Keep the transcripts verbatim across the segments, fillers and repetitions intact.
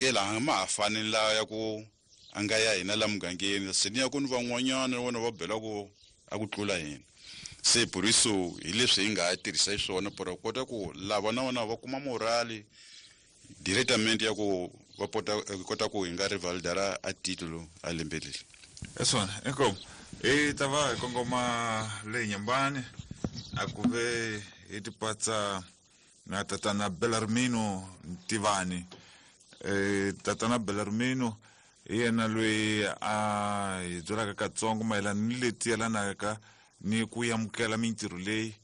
Laha ma ha fani la ya ku a nga ya hina la mugangeni, se ni ya ku ni van'wanyana vona va bela ku a ku tlula hina. Se por isso hi leswi hi nga tirhisa xiswona por kota ku lava na vona va kuma morale directamente ya ku va pota kota ku hi nga revalidara a titulo a lembe leri. Hi swona, inkomu. Hi ta va hi kongoma le Nyambani, a ku ve hi tipatsa na tatana Belarmino Ntivani. eh tatana Belarmino hi yena loyi a hi byelaka katsongo mayelana ni leti yelanaka ni ku amukela mintirho leyi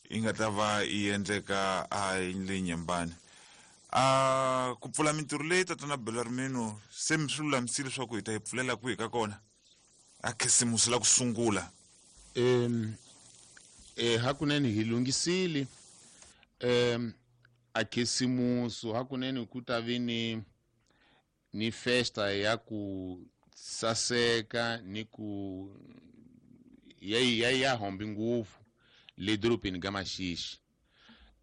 yi nga ta va yi endleka a le Nyambani. A ku pfula mintirho leyi, tatana Belarmino, se mi swi lulamisile leswaku hi ta yi pfulela kwihi ka kona a khisimusi la ku sungula? um eh hakunene hi lunghisile um a khisimusi. Hakunene ku ta vi ni ni festa ya ku saseka ni ku ya ya ya hombi ngopfu le dorobeni ka Maxixi.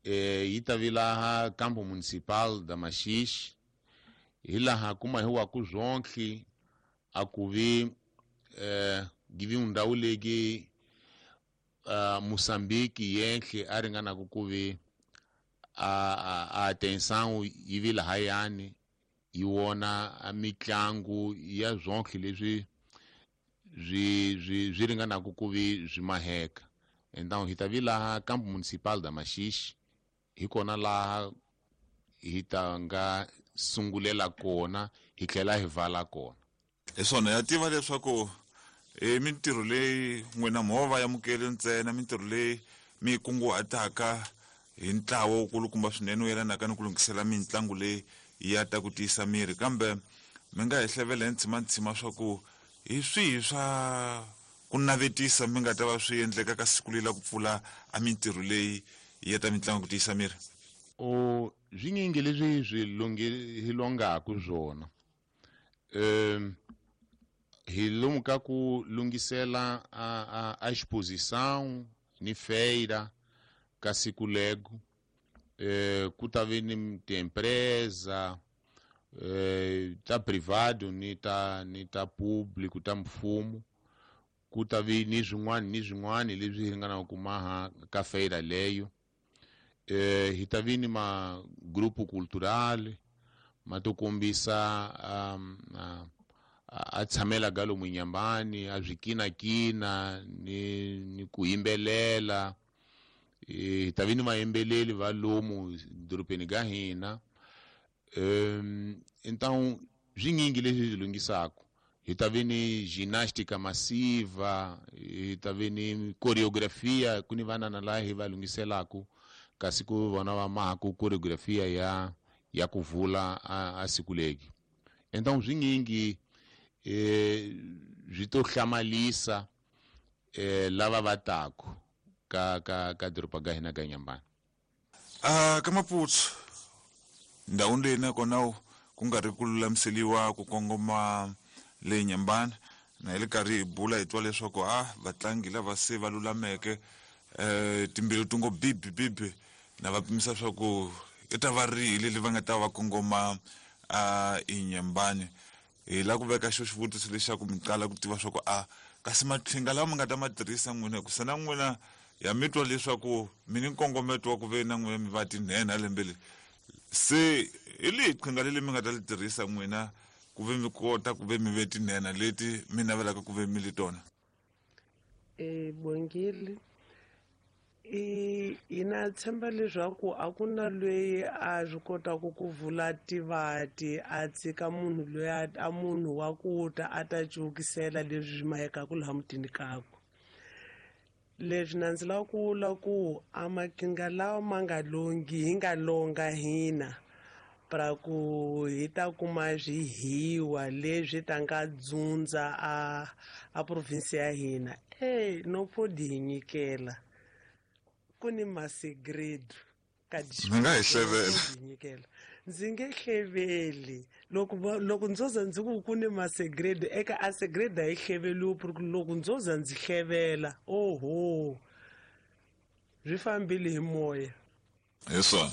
eh yi ta vi laha Campo Municipal da Maxixi, hi laha kuma hi wa ku zwonke a ku vi eh give ndhawu legi uh, Moçambique yenhle a ringanaku ku vi a, a, a atenção yi vi lahayani, yi wona a mitlangu ya zwonke leswi swi swi swi ringanaku ku vi swi maheka. Então hi ta vi laha Campo Municipal da Maxixi, hi kona laha hi ta nga sungulela kona, hi tlhela hi vala kona. Hi swona, ya tiva leswaku i mintirho leyi n'wina mo va amukeli ntsena, mintirho leyi mi yi kunguhataka hi ntlawa wukulukumba swinene wu yelanaka ni ku lunghisela mitlangu leyi ya ta ku tiyisa miri, kambe mi nga hi hlevela hi ntshimantsima swa ku hi swihi swa ku navetisa mi nga ta va swi endleka ka siku leri la ku pfula a mintirho leyi ya ta mitlangu ku tiyisa miri? O swinyingi leswi swi lunghi hi longaku swona. um hi lomu ka ku lunghisela a, a, a exposição ni feira ka siku lego. eh, ku ta vi ni tiempresa eh, ta privado ni ta ni ta público, ta mfumo. Ku ta vi ni swin'wana ni swin'wana leswi hi ringanaka ku maha ka feira leyo. eh, hi ta vi ni ma grupo cultural ma to kombisa um, a, a tshamela ka lomu Nyambani, a swi kinakina ni, ni ku yimbelela. Hi ta vi ni vayimbeleli va lomu dorobeni ka hina. um então swinyingi leswi hi lunghisaku. Hi ta vi ni ginástica massiva, hi ta vi ni coreografia, ku ni vanana laha hi va lunghiselaku kasi ku vona va mahaku coreografia ya ya ku vula a, a siku legi. Então swinyingi eh swi to hlamalisa eh lava va taku ka ka ka doroba ka hina ka Nyambani. A ka Maputo, ndhawini leyi nakona ku nga ri ku lulamiseliwa ku kongoma le Nyambani, na hi le karhi hi bula hi twa leswaku a vatlangi lava se va lulameke, eh timbilu ti ngo bibi bibi na va pimisa swa ku i ta va rihi leri va nga ta va kongoma a eNyambani. Hi la ku veka xo xivutiso lexaku mi qala ku tiva swa ku a kasi maqhinga lawa mi nga ta ma tirhisa n'wina, hikusa na n'wina ya mi twa leswaku mi ni nkongometo wa ku ve na n'wina mi va tinhenha lembe leri, se hi lihi qhinga leri mi nga ta li tirhisa n'wina ku ve mi kota ku ve mi ve tinhenha leti mi navelaka ku ve mi li tona? Eh Bongile, i hina tshemba leswaku a ku na loyi a swi kotaka ku vula tivati a tshika munhu loyi a a munhu wa ku ta a ta cukisela leswi swi mahekaku laha mutini kakwe. Leswi na ndzi lava ku vula ku a maqhinga lawa ma nga longhi, hi nga longa hina pra ku hi ta kuma swihiwa leswi ta nga dzundza a a province ya hina, e no podi hi nyikela ku ni masegredo ka Mi nga hi hlevela. Hi nyikela, ndzi nge hleveli. Loko va- loko ndzo za ndzi ku ku ni masegredo eka a segredo, a yi hleveliwi por loko ndzo za ndzi hlevela, oho, swi fambile hi moya. Hi swona,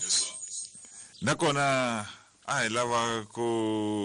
nakona A hi lava ku